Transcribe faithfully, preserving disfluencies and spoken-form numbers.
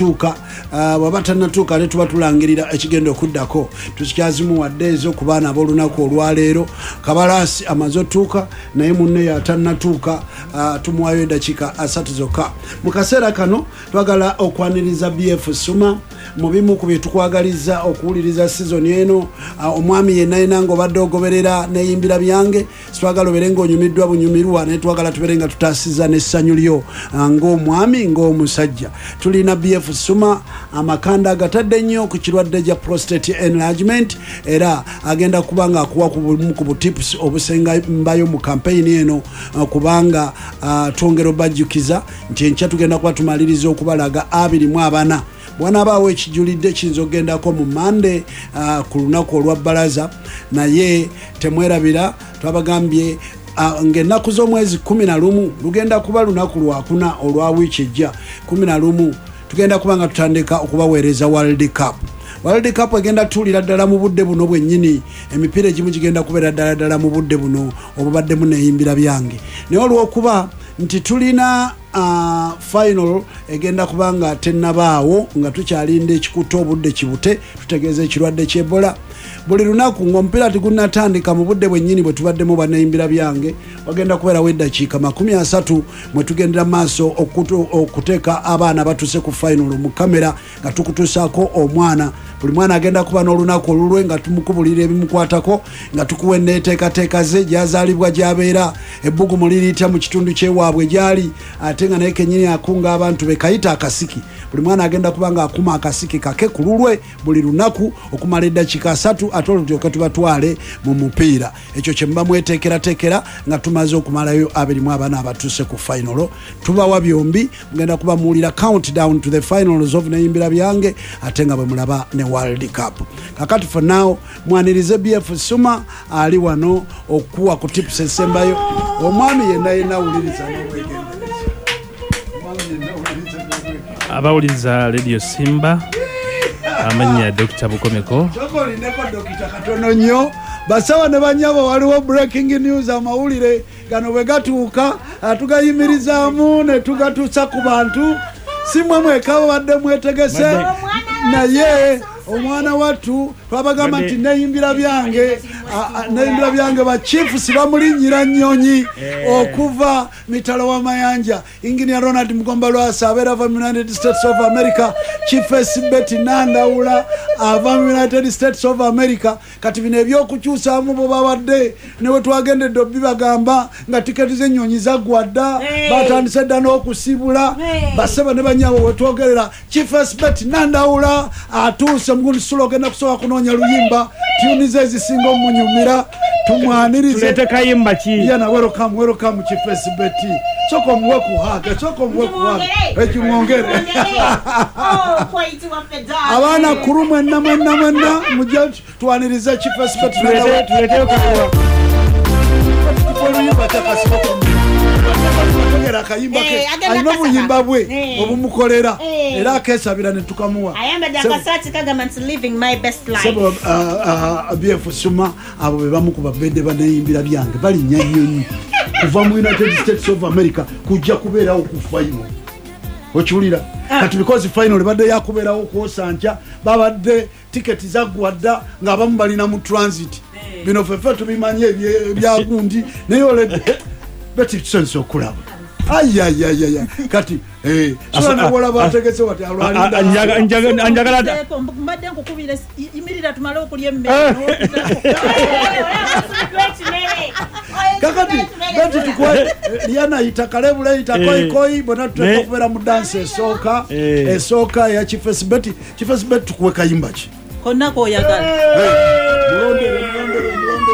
Okutuuka. Ah, bw'aba tannatuuka, ate tuba tulangirira ekigenda okuddako. Tukyazimuwadde ezo ku baana ab'olunaku olwaleero. Kabalaasi amaze otuuka, naye munne yatannatuuka. ah, tumuwayo eddakiika asatu zokka. Mu kaseera kano twagala okwaniriza B F Suma mu bimu ku bye tukwagaliza okuwuliriza sizoni eno. ah, omwami yenna yenna ng'obadde ogoberera neyimbira byange, sitwagala obeere ng'onyumiddwa bunyumirwa, naye twagala tubeere nga tutaasiza n'essanyu lyo ah, ng'omwami, ng'omusajja. Tulina B F Suma, amakanda agatadde nnyo ku kirwadde gya prostate enlargement, era agenda kuba nga akuwa ku bumu ku butips obusembayo mu kampeyini eno, ah, kubanga ah, twongera obajjukiza nti enkya tugenda kuba tumaliriza okubalaga abiri mu abana. Bwanabaawo ekijulidde, kiyinza okugendako mu Mande uh, ku lunaku olwa bbalaza. Naye temwerabira, twabagambye uh, ng'ennaku z'omwezi kumi na lumu lugenda kuba lunaku lwakuna olwa wiiki ejja, kumi na lumu, tugenda kuba nga tutandika okubaweereza World Cup. World Cup egenda tuulira ddala mu budde buno bwennyini. Emipiira egimu gigenda kubeera ddala ddala mu budde buno obubaddemu neyimbira byange, naye olwokuba nti tulina uh, final egenda kuba nga tennabaawo, nga tukyalinda ekikuta obudde kibute, tutegeeza ekirwadde ky'Ebola. Buli lunaku ng'omupiira tegunnatandika, mu budde bwennyini bwe tubaddemu bannayimbira byange, wagenda kubeerawo eddakiika makumi asatu mwe tugendera maaso okutu- okuteeka abaana batuse ku final mu kamera, nga tukutuusaako omwana. Buli mwana agenda kuba n'olunaku olulwe, nga tumukubulira ebimukwatako, nga tukuwa enneeteekateeka ze, gyazaalibwa, gy'abeera, ebbugumu liriitya mu kitundu kyewaabwe gyali, ate nga naye kenyini akunga abantu be kayita akasiki. Buli mwana agenda kuba nga akuma akasiki kake ku lulwe buli lunaku okumala eddakiika asatu, ate olwo tulyoke tubatwale mu mupiira. Ekyo kye muba mweteekerateekera nga tumaze okumalayo abiri mu abana abatuuse ku final. Tubawa byombi, mugenda kuba muwulira countdown to the finals of Neyimbira Byange, ate nga bwe mulaba ne World Cup. Kakati for now mwanirize B F Suma, ali wano okuwa ku tips esembayo. Omwami yenna yenna awuliriza n'obwegendereza. Omwami yenna awuliriza n'obwegendereza. Abawuliriza Radio Simba, amannya Dokita Bukomeko. Kyokka olindeko, dokita, katono nnyo. Basawa ne banyabo, waliwo breaking news. Amawulire gano bwe gatuuka, ah, tugayimirizaamu ne tugatuusa ku bantu. Si mwe mweka babadde mwetegese, naye omwana wattu twabagamba nti Neyimbira Byange, ah, ah, Neyimbira Byange bachiefs bamulinnyira nnyonyi okuva mitalo w'amayanja. Engineer Ronald Mugomba Lwasa abeera ava mu United States of America, Chiefess Betty Nandawula ava mu United States of America. Kati bino ebyokukyusaamu bwe babadde ne we twagendedde obibagamba nga tiketi z'ennyonyi zaggwa dda, batandise dda n'okusibula. Basebo ne banyabo, wetwogerera Chiefess Betty Nandawula atuuse. Mugundi sula ogenda kusobola kunoonya luyimba, tune ze ezisinga omunyumira, tumwanirize. Tuleete kayimba ki? Yana, welcome, welcome, Chiefess Betty. Soka omuwe ku hug, soka omuwe ku hug, ekimwongere. Abaana kuru mwenna mwenna mwenna mujje twanirize Chiefess Betty Nandawula. Tuleeteyo kayimba. Oluyimba kyakasibategera akayimba ke. Eh, agenda Alina kasaba. obuyimba bwe Eh. obumukolera, Eh. era akesabira ne tukamuwa. Ayambadde Sebo- akasaati kagamba nti "Living my best life." Sebo B F Suma, abo be bamu ku babedde baneyimbira byange balinnya nnyonyi kuva mu United States of America kujja kubeerawo ku final. Okiwulira? Kati because final ebadde yakubeerawo kwosankya, babadde tiketi zaggwa dda, ng'abamu balina mu transit. Bino ffeffe tubimanyi ebye- ebyagundi, naye oledde beti tusanyusa okulaba. Ayayayaya, kati eh, sula newolaba ategese wati alwalinda. Njagala. Seeko, mbadde nkukubira esi- yimirira tumale okulya emmere. Kakati beti tukwe Liana yita kalebule, yita Eh. koikoi, bonna tuteeka Ne- okubeera mu dansi esooka, Eh. esooka eya Chiefess Betty. Chiefess Betty, tukuwe kayimba ki? Konna koyagala. Mulondere.